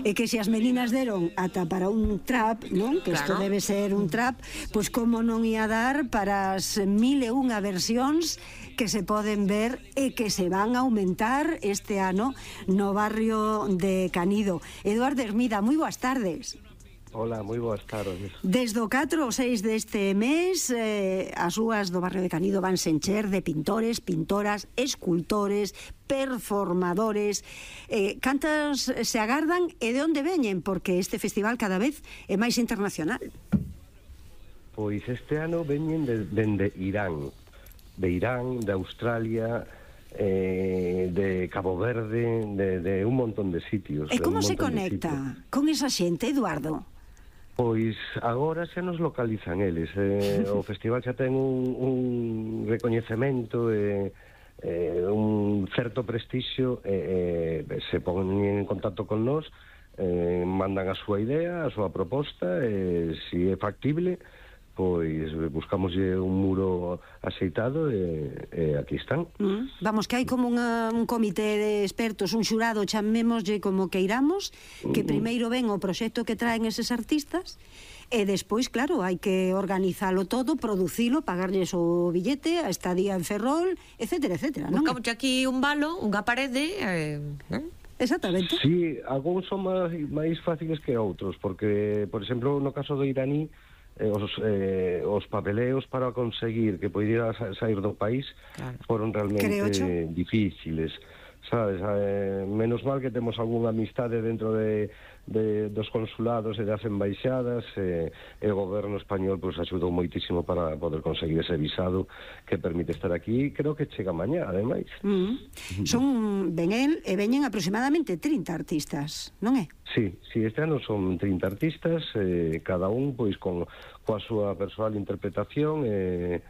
E que se as meninas deron ata para un trap, non? Que isto debe ser un trap, pois como non ia dar para as 1001 versións que se poden ver e que se van a aumentar este ano no barrio de Canido. Eduardo Hermida, moi boas tardes. Hola, moi boas tardes. Desde o 4 ao 6 deste mes, as rúas do barrio de Canido van se encher de pintores, pintoras, escultores, performadores. Cantas se agardan e de onde veñen? Porque este festival cada vez é máis internacional. Pois este ano veñen dende Irán, de Australia, de Cabo Verde, de un montón de sitios. E como se conecta con esa xente, Eduardo? Pois agora xa nos localizan eles. O festival xa ten un recoñecemento e un certo prestixio, se ponen en contacto con nós, mandan a súa idea, a súa proposta, e se é factible, pois buscamos un muro aceitado e aquí están. Vamos, que hai como un comité de expertos, un xurado, chamémoslle como queiramos, que primeiro ven o proxecto que traen eses artistas e despois, claro, hai que organizalo todo, producilo, pagarlles o billete, a estadía en Ferrol, etcétera, etcétera, non? Buscamos aquí un balo, unha parede, non? Exactamente. Sí, algúns son máis fáciles que outros, porque, por exemplo, no caso do iraní, os papeleos para conseguir que poidera sair do país foron realmente difíciles, sabes? Menos mal que temos algunha amistade dentro dos consulados e das embaixadas, e o goberno español pois axudou moitísimo para poder conseguir ese visado que permite estar aquí. Creo que chega mañá, ademais. Veñen aproximadamente 30 artistas, non é? Sí, este ano son 30 artistas, cada un pois coa súa persoal interpretación, e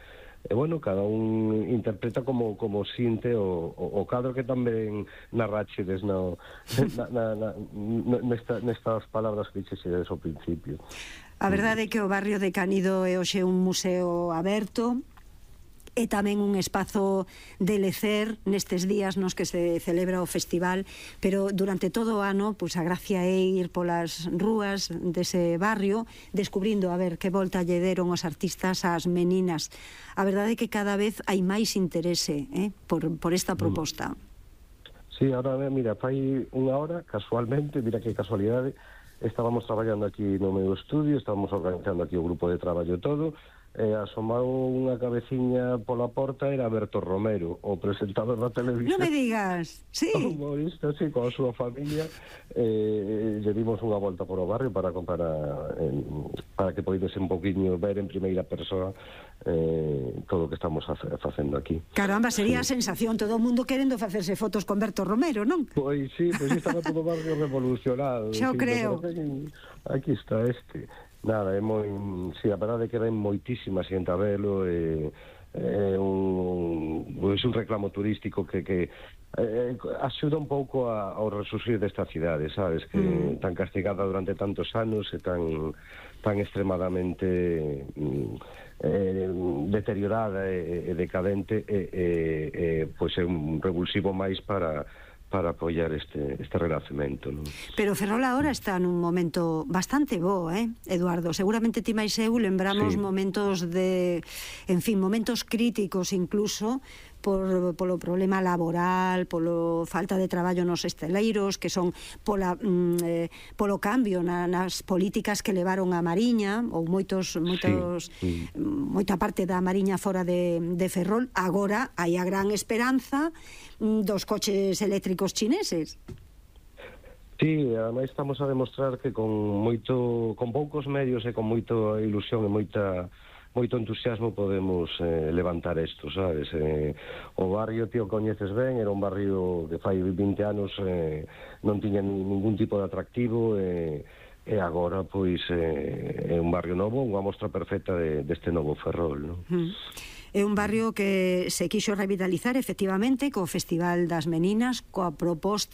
bueno, cada un interpreta como sinte o cadro que tamén narrachedes nestas palabras que dixedes ao principio. A verdade é que o barrio de Canido é hoxe un museo aberto, e tamén un espazo de lecer nestes días nos que se celebra o festival, pero durante todo o ano pois a gracia é ir polas rúas dese barrio descubrindo a ver que volta lle deron os artistas ás meninas. A verdade é que cada vez hai máis interese por esta proposta. Sí, ahora, mira, fai unha hora, casualmente, mira que casualidade, estábamos traballando aquí no meu estudio, estábamos organizando aquí o grupo de traballo todo, asomado unha cabeciña pola porta, era Berto Romero, o presentador da televisión. Non me digas, sí. O humorista, sí, coa súa familia, lle dimos unha volta por o barrio para que poidese un poquinho ver en primeira persoa todo o que estamos facendo aquí. Caramba, sería a sensación, todo o mundo querendo facerse fotos con Berto Romero, non? Pois sí, estaba todo o barrio revolucionado. Xo creo. Aquí está este. Nada, é moi... Sí, a verdade é que ven moitísima xente a velo, é un reclamo turístico que axuda un pouco ao resurgir desta cidade, sabes? Que tan castigada durante tantos anos e tan extremadamente deteriorada e decadente, pois é un revulsivo máis para apoiar este renacemento, non? Pero Ferrol agora está nun momento bastante bo, Eduardo? Seguramente ti máis eu lembramos momentos momentos críticos incluso polo problema laboral, polo falta de traballo nos esteleiros, que son polo cambio nas políticas que levaron a Mariña, ou moita parte da Mariña fora de Ferrol. Agora hai a gran esperanza dos coches eléctricos chineses. Sí, ademais estamos a demostrar que con poucos medios e con moita ilusión e moito entusiasmo podemos levantar isto, sabes? O barrio, tío, coñeces ben, era un barrio que fai 20 anos non tiña ningún tipo de atractivo, e agora pois é un barrio novo, unha mostra perfecta deste novo Ferrol, non? É un barrio que se quixo revitalizar efectivamente co Festival das Meninas, coa proposta